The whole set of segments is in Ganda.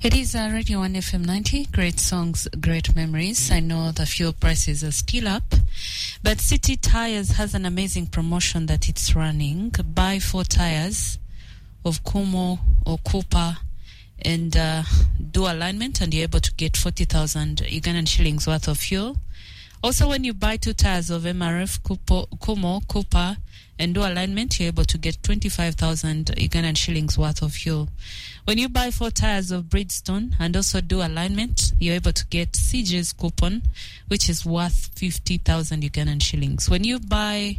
It is Radio 1 FM 90. Great songs, great memories. I know the fuel prices are still up, but City Tires has an amazing promotion that it's running. Buy 4 tires of Kumho or Cooper and do alignment, and you're able to get 40,000 Ugandan shillings worth of fuel. Also, when you buy 2 tires of MRF, Kumho, Cooper, and do alignment, you're able to get 25,000 Ugandan shillings worth of fuel. When you buy 4 tires of Bridgestone and also do alignment, you're able to get CJ's coupon, which is worth 50,000 Ugandan shillings. When you buy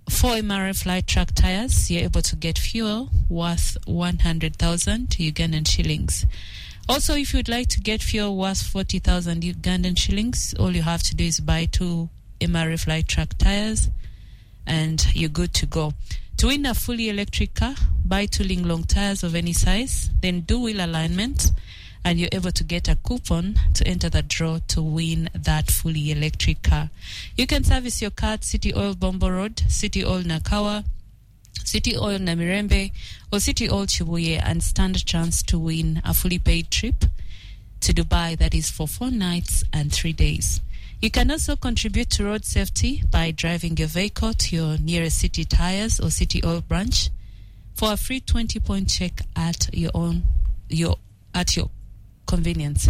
4 MRF light truck tires, you're able to get fuel worth 100,000 Ugandan shillings. Also, if you'd like to get fuel worth 40,000 Ugandan shillings, all you have to do is buy 2 MRF light truck tires and you're good to go. To win a fully electric car, buy 2 Linglong tires of any size, then do wheel alignment, and you're able to get a coupon to enter the draw to win that fully electric car. You can service your car at City Oil Bombo Road, City Oil Nakawa, City Oil Namirembe, or City Oil Chibuye, and stand a chance to win a fully paid trip to Dubai, that is for 4 nights and 3 days. You can also contribute to road safety by driving your vehicle to your nearest City Tires or City Oil branch for a free 20-point check at your convenience.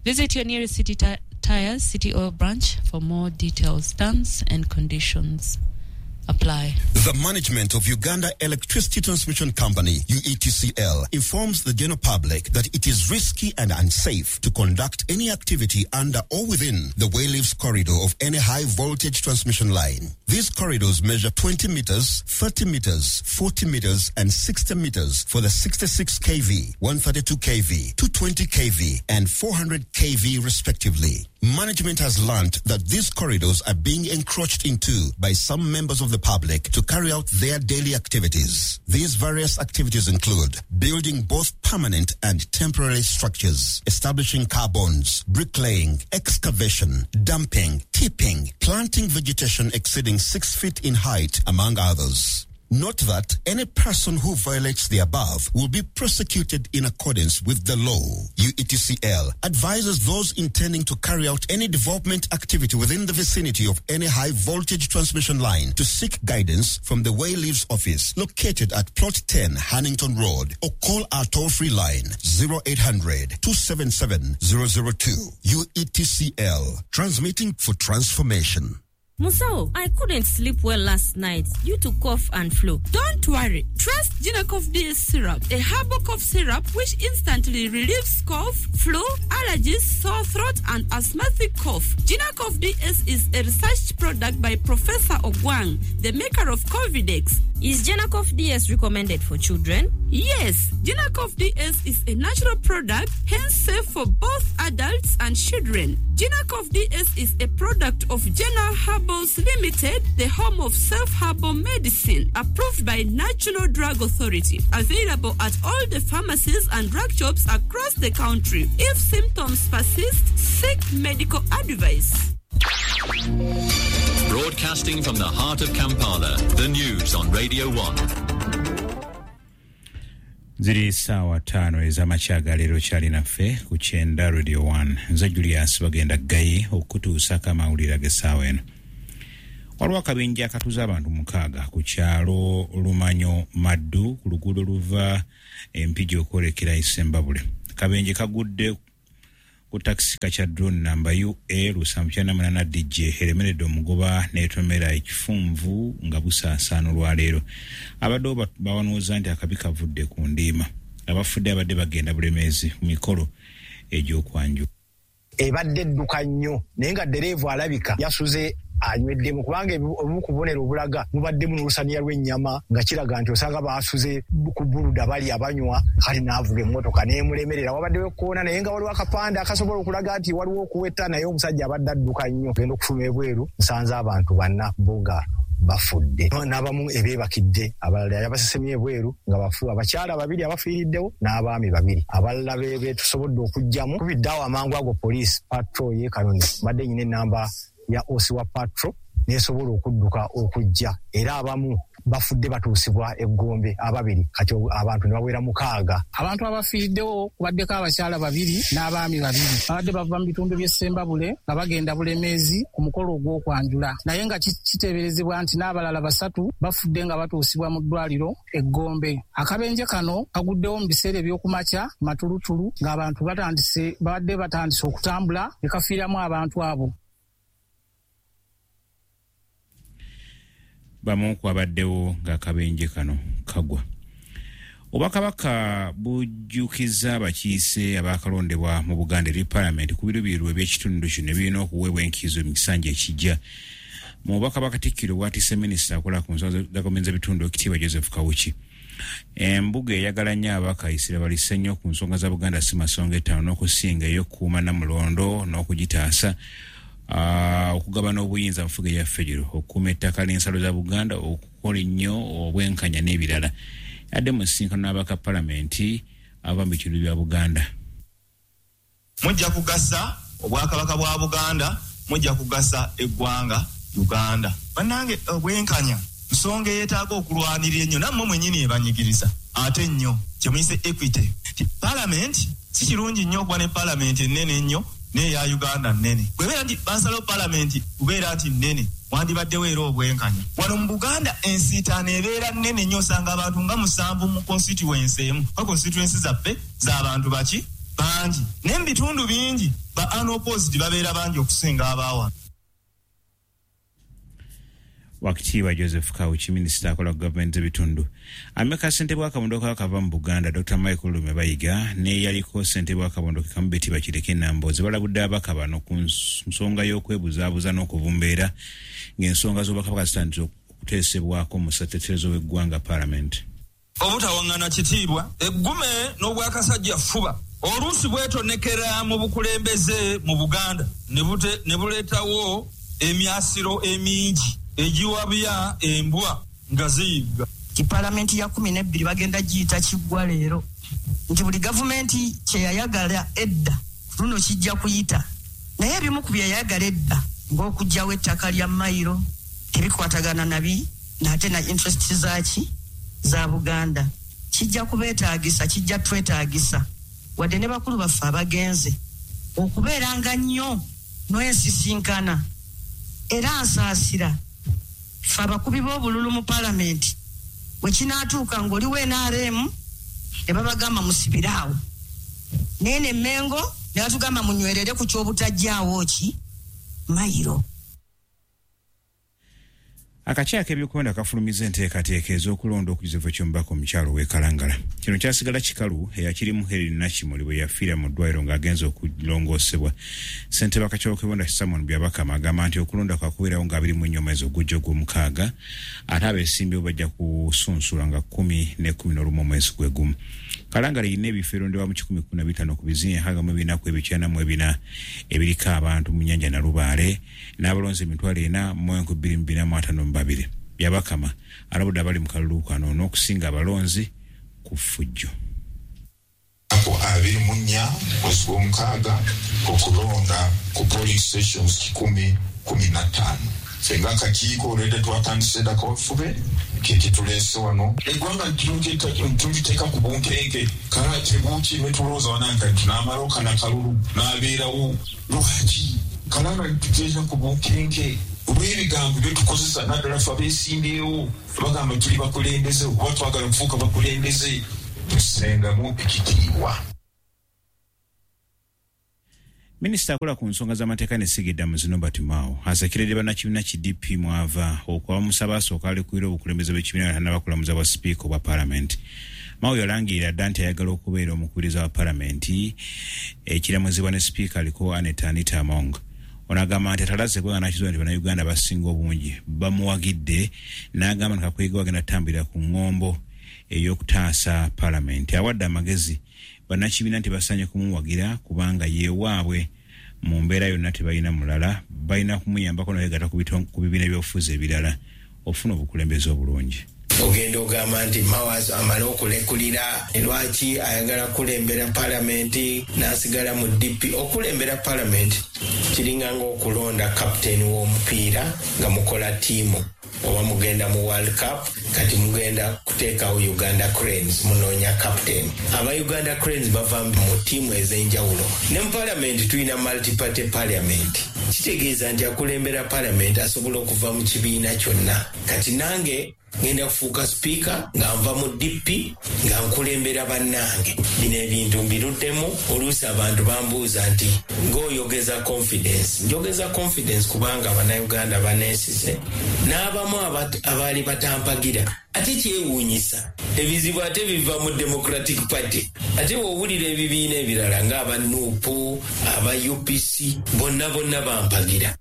Visit your nearest City Tires, City Oil branch for more details. Terms and conditions apply. The management of Uganda Electricity Transmission Company, UETCL, informs the general public that it is risky and unsafe to conduct any activity under or within the wayleaves corridor of any high voltage transmission line. These corridors measure 20 meters, 30 meters, 40 meters, and 60 meters for the 66 kV, 132 kV, 220 kV, and 400 kV respectively. Management has learned that these corridors are being encroached into by some members of the public to carry out their daily activities. These various activities include building both permanent and temporary structures, establishing car bonds, bricklaying, excavation, dumping, tipping, planting vegetation exceeding 6 feet in height, among others. Note that any person who violates the above will be prosecuted in accordance with the law. UETCL advises those intending to carry out any development activity within the vicinity of any high voltage transmission line to seek guidance from the Wayleaves office located at Plot 10 Hannington Road, or call our toll-free line 0800 277 002. UETCL, transmitting for transformation. Musao, I couldn't sleep well last night due to cough and flu. Don't worry. Trust Ginacof DS syrup, a herbal cough syrup which instantly relieves cough, flu, allergies, sore throat, and asthmatic cough. Ginacof DS is a research product by Professor Ogwang, the maker of Covidex. Is Ginacof DS recommended for children? Yes, Ginacof DS is a natural product, hence safe for both adults and children. Ginacof DS is a product of General Herbals Limited, the home of self-herbal medicine, approved by National Drug Authority. Available at all the pharmacies and drug shops across the country. If symptoms persist, seek medical advice. Broadcasting from the heart of Kampala, the news on Radio 1. Ziri saawa 5 ez'amakya ga leero. Kyalinaffe ku kyenda Radio 1. Nze Julius Bagenda Gayi okutuusako amawulire ag'essaawa eno. Waliwo akabinja akatuza abantu 6 ku kyalo Lumanyo Maddu ku luguudo luva Empigi okwolekera Isembabule. Akabenje kagudde ku takisi kakya drone namba UA 798 DJ eremeredde omugoba n'etomera ekifunvu nga busaasaana olwaleero. Abadde bawanuuza nti akabi kavudde ku ndiima. Abafudde abadde bagenda Bulemeezi ku mikolo egy'okwanjula. Ebadde edduka nnyo naye nga ddereeva alabika yasuze anyweddemu, kubanga obumu ku bubonero obulaga mubaddemu n'olusaniya lw'ennyama, nga kiraga nti osanga baasuze ku buluda bali abanywa, kale n'avuga emmotoka n'emulemerera. Wabaddewo ekkoona naye nga waliwo akapande akasobola okulaga nti waliwo okuweta, naye omusajja abadde adduka nnyo. Genda okufuluma ebweru nsanze abantu 4 bo nga bafudde, n'abamu ebeebakidde, abalala yabasesemye ebweru nga bafu, abakyala 2 abafiiriddewo n'abaami 2 abalala betusobodde okuggyamu. Kubiddeawo amangu ago poliisi patrol y'e Kanoni, mbadde nyina ennamba ya osi wa patro nesobola okudduka okujja, era abamu bafudde batuusibwa e Gombe ababiri, kati abantu ne bawera 6. Abantu abafiiriddewo kubaddeko abakyala 2 n'abaami 2 babadde bava mu bitundu by'e Ssembabule nga bagenda Bulemeezi ku mukolo ogw'okwanjula, naye nga kiteeberezebwa nti n'abalala 3 bafudde nga batuusibwa mu ddwaliro e Gombe. Akabenje kano kaguddewo mu biseera eby'okumakya matulutulu ng'abantu babadde batandise okutambula ne kafiiramu abantu abo. Bamu kwabaddewo ng'akabenje kano kagwa. Obwakabaka bujjukiza abakiise abakalondebwa mu Buganda eri Paalamenti ku biruubirirwa eby'ekitundu kino ebirina okuweebwa enkizo mu kisanja ekijja. Mu bubaka bwa Katikkiro bw'atisse minisita akola ku nsonga za gavumenti z'ebitundu Ekitiibwa Joseph Kawuki. Embuga eyagala nnyo ababaka essira balisse nnyo ku nsonga za Buganda si masonga 5 n'okusinga ey'okukuuma Nnamulondo n'okugitaasa, okugabana obuyinza mu nfuga eya federo, okukuuma ettaka n'ensalo za Buganda, okukola ennyo obwenkanya n'ebirala. Adde mu nsisinkano n'ababaka Paalamenti abava mu bitundu bya Buganda. Mujja kugasa Obwakabaka bwa Buganda, mujja kugasa eggwanga Uganda. Bannange, obwenkanya nsonga eyeetaaga okulwanirira ennyo, nammwe mwennyini ebanyigiriza ate nnyo kye muyise equity. Paalamenti si kirungi nnyo okuba ne paalamenti ennene ennyo n'eya Uganda nnene. Bw'ebeera nti bansalawo paalamenti kubeera nti nnene, wandibaddewo era obwenkanya. Wano mu Buganda ensiitaano ebeera nnene nnyo, osanga abantu nga 7 mu constituency emu, kuba constituency zaffe z'abantu baki bangi, naye mu bitundu bingi ba unopposed babeera bangi okusinga abaawano. Wakitiibwa Joseph Kawuki, minisita akola ku gavumenti z'ebitundu, amyuka ssentebe w'akabondo k'akava mu Buganda Dr. Michael Lume Bayiga n'eyaliko ssentebe w'akabondo ke kamu Betty Bakireke Nambooze balabudde ababaka bano ku nsonga y'okwebuzaabuza n'okuvumbeera ng'ensonga z'obwakabaka zitandise okuteesebwako mu ssateterezo w'eggwanga Paalamenti. Obutawaŋŋana kitiibwa, eggume n'obwakasajja ffuba oluusi bwetonekera mu bukulembeze mu Buganda ne buleetawo emyasiro emingi egiwabya embwa nga ziyigga. Nti Paalamenti ya 12 bagenda giyita kiggwa leero, nti buli gavumenti kye yayagala edda luno kijja kuyita, naye ebimu ku bye yayagala edda ng'okuggyawo ettaka lya mayiro tebikwatagana nabi nate na interest zaaki za Buganda. Kijja kubeetaagisa, kijja twetaagisa wadde ne bakulu baffe abagenze okubeeranga nnyo n'ensisinkana. Era nsaasira ffe abakubi b'obululu mu Paalamenti bwe kinaatuuka ng'oliwo NRM ne babagamba musibire awo, naye ne Mmengo ne batugamba munywerere ku ky'obutajjaawo ki mayiro. Akakiiko k'ebyokulonda kafulumizza enteekateeka ez'okulonda okujjuza ky'omubaka omukyalo w'e Kalangala. Kino kyasigala kikalu eyakirimu Helen Nakimuli bwe yafiira mu ddwaliro ng'agenze okulongoosebwa. Ssentebe w'akakiiko k'ebyokulonda Simon Byabakama agamba nti okulonda kwakubeerawo nga 24 omwezi ogujja ogw'omukaaga, ate abeesimbyewo bajja kusunsula nga 10 ne 11 omwezi gwe gumu. Kalangala erina ebifo erondebwamu 115 ku bizinga 694 ebiriko abantu mu nnyanja Nalubaale n'abalonzi 4,252. Byabakama alabudde abali mu kalulu kano n'okusinga abalonzi ku ffujjo. 24 mwezi gw'omukaaga okulonda ku polling stations 115. Ffe ng'akakiiko olwedda twatandise dda kawefube kekituleese wano. Eggwanga tuliteeka ku bunkenke, kala tebuki ne tulowooza wananka nti n'amala okana kalulu n'abeerawo. Lwaki kalanga tuteeka ku bunkenke olw'ebigambo bye tukozesa, naddala ffe abeesimbyewo bagamba tuli bakulembeze oba twagala kufuuka bakulembeze, tusengamu ekitiibwa. Minisita akola ku nsonga z'amateeka ne Sigida Norbert Mao asekeredde bannakibiina ki DP mwava okuba musaba asooka alekulira obukulembeze bw'ekibiina nga tannaba kulamuza bwa sipiika obwa Paalamenti. Mao yalangirira dda nti ayagala okubeera omukubiriza wa Paalamenti ekiramuzibwa ne sipiika aliko Annet Anita Among. Ono agamba nti atalaze kubanga n'akizuula nti Bannayuganda abasinga obungi bamuwagidde, n'agamba nti Kakuyege agenda kutambulira ku ŋŋombo ey'okutaasa Paalamenti. Awadde amagezi bannakibiina nti basaanye kumuwagira kubanga ye waabwe mu mbeera yonna, tebalina mulala, balina kumuyambako n'okwegatta ku bibiina by'obufuzi ebirala okufuna obukulembeze obulungi. Ogenda ogamba nti Mao amale okulekulira, lwaki ayagala kulembera Paalamenti n'asigala mu DP? Okulembera Paalamenti kiringa ng'okulonda kapiteeni w'omupiira nga mukola ttiimu. oba mugenda mu World Cup, kati mugenda kuteekawo Uganda Cranes, munoonya captain. Aba Uganda Cranes bava mu ttiimu ez'enjawulo. Ne mu parliament tulina multiparty parliament, kitegeeza nti akulembera parliament asobola okuva mu kibiina kyonna. Kati nange ngenda kufuuka sipiika nga nva mu DP, nga nkulembera bannange. Bino ebintu mbiruddemu. Oluusi abantu bambuuza nti ng'oyogeza confidence. Njogeza confidence kubanga Abannayuganda baneesize, n'abamu abaali batampagira. Ate kyewuunyisa, ebizibu ate biva mu Democratic Party. Ate bw'owulira ebibiina ebirala ng'aba NUP, aba UPC, bonna bonna bampagira.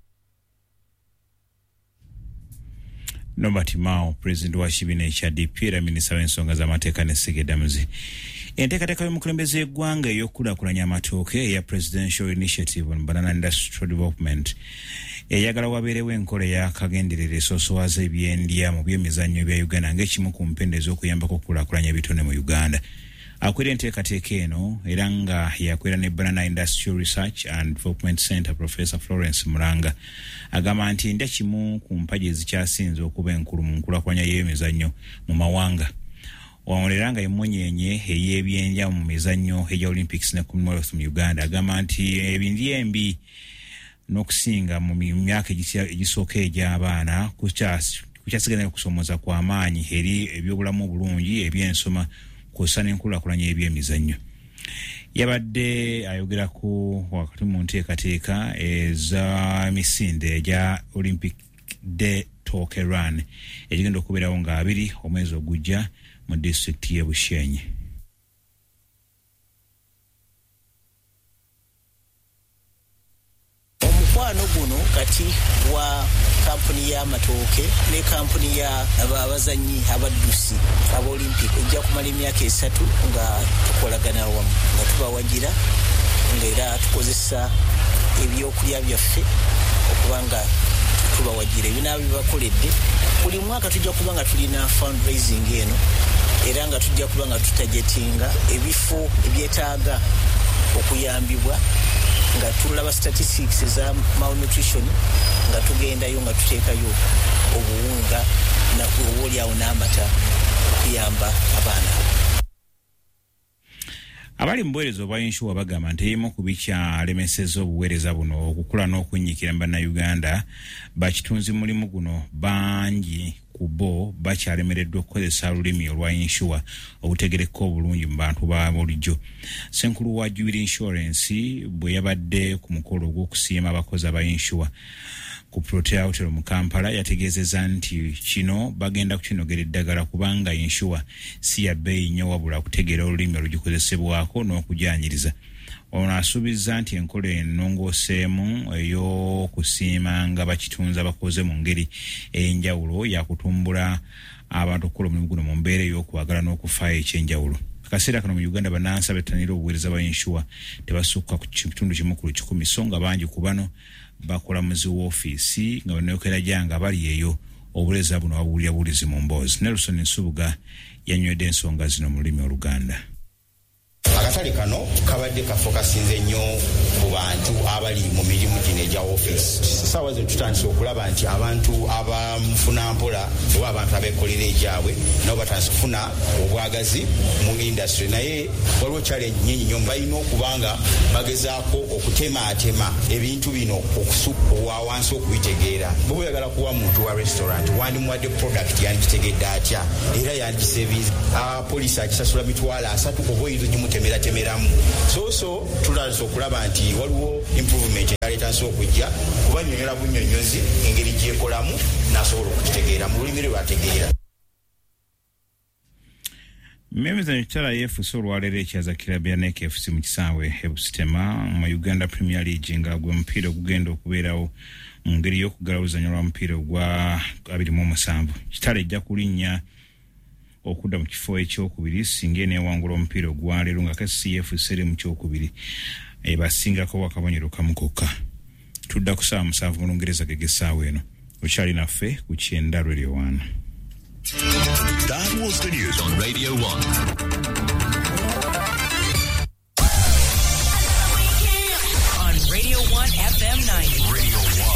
Norbert Mao, pulezidenti wa kibiina ekya DP era minisita w'ensonga z'amateeka ne Ssegedamuzi. Enteekateeka y'omukulembeze w'eggwanga ey'okukulaakulanya amatooke eya Presidential Initiative on Banana Industrial Development eyagala wabeerewo enkola ey'akagenderere esoosowaza ebyendya mu byemizannyo bya Uganda ng'ekimu ku mpenda ez'okuyambako okukulaakulanya ebitone mu Uganda. Akwira enteekateeka eno era nga yakwira ne Banana Industrial Research and Development Center, Professor Florence Muranga agamba nti endya kimu ku mpagi ezikyasinze okuba enkulu mu nkulaakulanya y'emizannyo mu mawanga. Wano era nga emunyeenye ey'ebyendya mu mizannyo egya Olympics ne Commonwealth mu Uganda agamba nti ebindya embi n'okusinga mu myaka egisooka egy'abaana kukyasigala okusomooza kw'amaanyi eri ebyobulamu obulungi, ebyensoma kw'ossa n'enkulaakulanya y'ebyemizannyo. Yabadde ayogerako wakati mu nteekateeka ez'emisinde egya Olympic Day Tooke Run egigenda okubeerawo nga 2 omwezi ogujja mu disitulikiti y'e Bushenyi. Omukwano guno kati wa kampuni y'amatooke ne kampuni ya abazannyi abaddusi aba Olympic ejja kumala emyaka 3 nga tukolagana wamu, nga tubawagira, ng'era tukozesa ebyokulya byaffe okuba nga tubawagira. Ebinaaba bibakoledde buli mwaka tujja kuba nga tulina fundraising eno, era nga tujja kuba nga tutagetinga ebifo ebyetaaga okuyambibwa, nga tulaba statistics eza malnutrition, nga tugendayo nga tuteekayo obuwunga oboolyawo n'amata okuyamba abaana. Abali mu buweereza obwa yinsuwa bagamba nti ebimu ku bikyalemesezza obuweereza buno okukula n'okunyiikira mu Bannayuganda bakitunzi mulimu guno bangi ku bo bakyalemereddwa okukozesa olulimi olwa yinsuwa obutegereka obulungi mu bantu ba bulijjo. Ssenkulu wa Jubilee Insurance bwe yabadde ku mukolo ogw'okusiima abakozi aba yinsuwa ku Protea Hotel mu Kampala yategeezezza nti kino bagenda kukinogera eddagala kubanga yinsuwa si ya bbeeyi nnyo wabula kutegeera olulimi olugikozesebwako n'okujanyiriza. Ono asuubizza nti enkola ennongooseemu ey'okusiimanga bakitunzi abakoze mu ngeri ey'enjawulo yakutumbula abantu okukola omulimu guno mu mbeera ey'okwagala n'okufaayo eky'enjawulo. Akaseera kano mu Uganda bannansi abettanira obuweereza bwa yinsuwa tebasukka ku kitundu 1 ku 100, so nga bangi ku bano bakola mu zi woofiisi nga banookera gyanga bali eyo obuweereza buno babuwulira buwulizi mu mboozi. Nelson Nsubuga yanywedde ensonga zino mu lulimi Oluganda. Akatale kano kabadde kafokasinze nnyo ku bantu abali mu mirimu gino egya ofiisi. Essaawa zino tutandise okulaba nti abantu abamufuna mpola oba abantu abeekolera egyabwe nabo batandise okufuna obwagazi mu industry, naye waliwo challenge nnyingi nnyo. Balina okuba nga bagezaako okutemaatema ebintu bino owa wansi okubitegeera. Bw'oba oyagala kuwa muntu wa restaurant wandimuwadde product yandigitegedde atya era yandigisevinze. Poliisi agisasula 300,000 oba oyinza ogimutemeratemeramu. So tutandise okulaba nti waliwo improvement aleetandise okujja kubanyonyola bunnyonnyozi engeri gyekolamu n'asobola okukitegeera mu lulimi lwe lwategeera. Mmemizanyo Kitara yeefuuse olwaleero ekyaza kiraabu ya NEC FC mu kisaawe e Busitema mu Uganda Premier League nga gwe mupiira ogugenda okubeerawo mu ngeri y'okuggala oluzannya lwa mupiira ogwa 27. Kitara ejja kulinnya okudda mu kifo ekyokubiri singa eneewangula omupiira ogwaleero nga KCF eri mu kyokubiri ebasingako akabonero kamu kokka. Tudda ku ssaawa 7 mu Lungereza ge g'essaawa eno. Okyali naffe ku Kyenda Radio 1. That was the news on Radio 1. On Radio 1 FM 90.